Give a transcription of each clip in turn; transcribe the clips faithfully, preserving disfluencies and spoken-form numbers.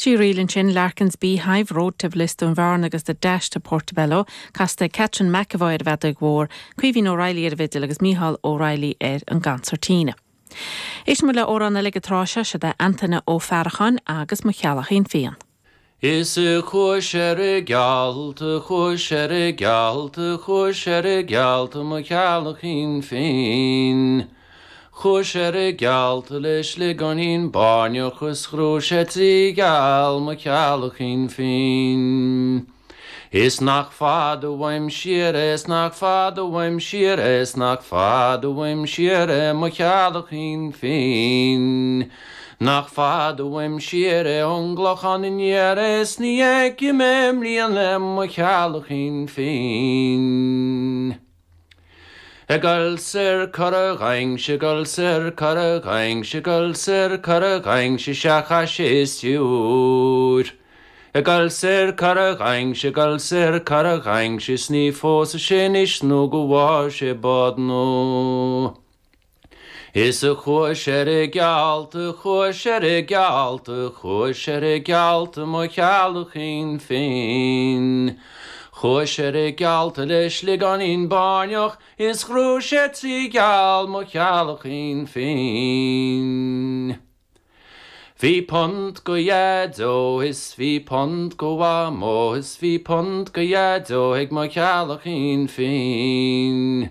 Trí ríl ansin Larkin's Beehive, Road to Bliss Dún Bhearna agus The Dash to Portobello, casta Catherine McAvoy ar an bhfeadóg mhór, Caoimhín O'Reilly ar an bhfidil agus Mícheál O'Reilly ar an gconsairtín. Éistfidh muid le amhrán eile ag an tráth seo sé Antaine Ó Faracháin agus mo cheallachín fiáin. Is chuaigh ar an ghealt chuaigh ar an ghealt chuaigh ar an ghealt mo cheallachín féin. Chuaigh ar an ghealt le sliogáinín bairneach is ghnóthaigh sé trí gheall mo cheallachín féin. Is nach fada uaim siar is nach fada uaim siar is nach fada uaim siar mo cheallachín féin. Nach fada uaim siar é ón gClochán aniar is ní fheicfidh mé i mbliana le mo cheallachín féin. Ag dul soir Cora Dhaing gul sir cora gaing gul sir cora gaing se secha sé stiúr. Ag dul soir Cora Ghaingse gul sir cora gaing se sní fós sin is nó go bhá sé bad nó. Is a chuaigh ar an ghealt chuaigh ar an ghealt chuaigh ar an ghealt mo cheallachín féin. Chuaigh ar an ghealt le sliogáinín bairneach is ghnóthaigh sé trí gheall mo cheallachín féin. Bhí punt go Dhaideo is bhí punt go Mhamó is bhí punt go Dhaideo ag mo cheallachín féin.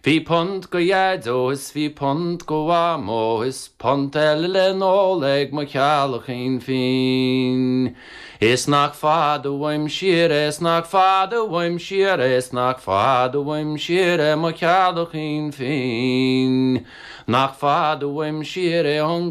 Bhí punt go Dhaideo is bhí punt go Mhamó is punt eile le n-ól ag mo cheallachín féin. Is nach fada uaim siar is nach fada uaim siar is nach fada uaim siar é mo cheallachín féin. Nach fada uaim siar é ón